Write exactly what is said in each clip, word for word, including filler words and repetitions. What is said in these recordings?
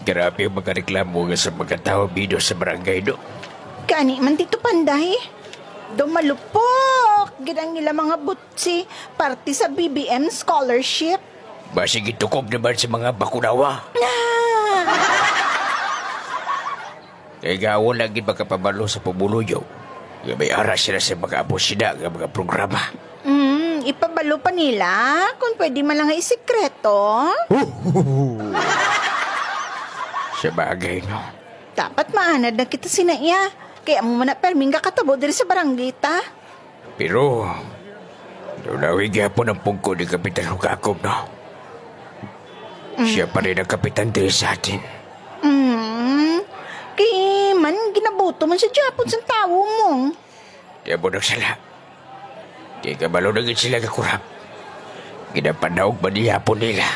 Grabe ang mga reklamo nga sa mga tawo, Bido, sa barangay, no? Gani man, Tito Panday. Daw malupok gid ang ila mga butsi parte sa B B M scholarship. Basig itukog naman sa mga bakunawa. Ah! Kay gawon lagi makapabalo sa pumuluyo nga may ara sila sa mga amo sina nga mga programa. Mm, ipabalo pa nila kung pwede man lang nga isikreto. Sa bagay, no? Dapat maanad na kita sina iya. Kay amo man na perming gakatabo diri sa barangay ta. Pero, naunawi gyapon ang pungko ni Kapitan Hugakob, no? Mm. Siya pa rin ang kapitan diri sa atin. Mm. Kay man, ginaboto man siya gyapon sang tawo mo. Di mo nagsala. Kay kabalo na gid sila nga kurap. Ginapanaog man gihapon nila.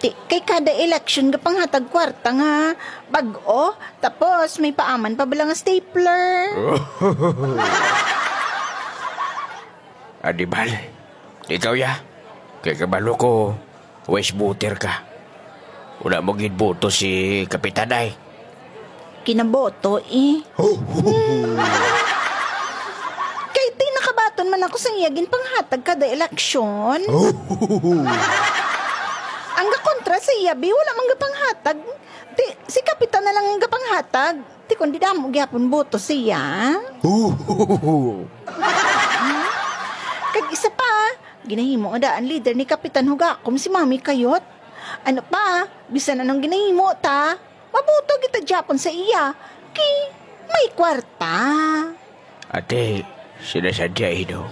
Ti, kay kada eleksyon nga panghatag kwarta nga bag-o, tapos may paaman pa bala nga stapler. Anibal, ikaw ya. Kay kabalo ko, wise voter ka. Wala mo gid boto si Kapitan ay. Kinaboto, eh. Hmm. Kay ti nakabaton man ako sa iya ginpanghatag kada eleksyon. Ang gakontra sa iya, bi, wala man gapanghatag. Ti, si Kapitan na lang ang gapanghatag. Ti, kundi damo gyapon boto siya. Kag isa pa, ginahimo nga daan leader ni Kapitan Hugakom si Mami Kayot. Ano pa, bisan anong ginahimo ta, mabuto kita gyapon sa iya. Kay may kwarta. Ate, sinasadya ino.